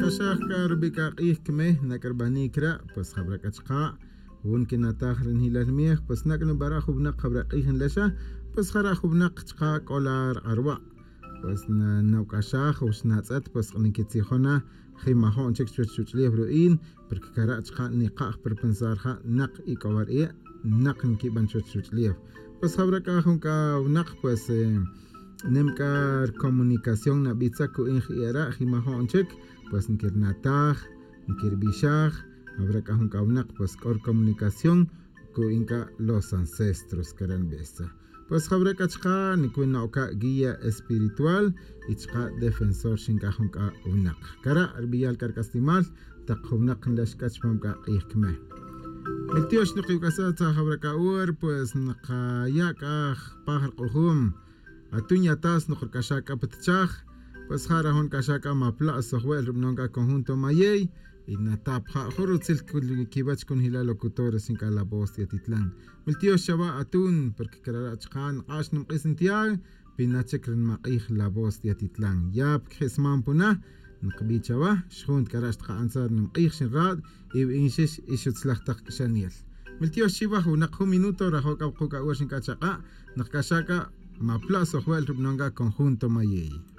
Nqak'axaj k'a rub'i' k'a q'ij kimej nak'arb'anïk ra' pues jab'ra k'a chqa' jun kinataj rinjilal miej pues nak' nub'ara' jub'naq jab'ra q'ij nlexa pues jara' jub'naq chqa k'o la rq'arwa' pues nawk'axaj o xnatz'et pues nikitzijona jimajo'n chik chuwach ruwach'ulew ru'in porque kara' chqa niqa'j per pensar ja' naq ik'owar ie' naq nkib'an chuwach ruwach'ulew pues jab'ra k'a jun k'a wnaq pues nim k'a comunicación nab'itza ku'inj i'era' jimajo'n chik pues nkirnataj nkirb'ixaj jab'ra k'a jun k'a wnaq pues k'o comunicación ku'in k'a los ancestros kara' nb'e'sa pues jab'ra k'a chqa nikwin na'oka' guía espiritual y chqa defensor xink'a jun k'a wnaq kara' rb'iyal k'a rk'aslimal taq jub'naq nlex k'a chpam k'a q'ij kimej Miltiox niqiwk'asa tza jab'ra k'a ur pues nqaya' k'a paj rq'ujum atun yatas noqrk'axa k'a ptchaj pues jara jun k'axa k'a mapla' sojwe'l rub'non k'a conjunto mayey y natap ja' jun rutzil kiwach kunjila locutores xink'a La Voz de Atitlán Miltiox chawa atun porque karara' chqa nq'ax nimq'ij Santiago pinachik rinmaq'ij La Voz de Atitlán ya pkjisman puna nqb'i chawa xjunt k'ara' xtqa'antzar nimq'ij xinraad y b'inxix ixutzlaj taq k'xaniel Miltiox chiwaj wnaq jun minuto rajo k'a wuqu' k'a ur xink'a chaq'a' nqk'axa k'a mapla' sojwe'l rub'non k'a conjunto mayey.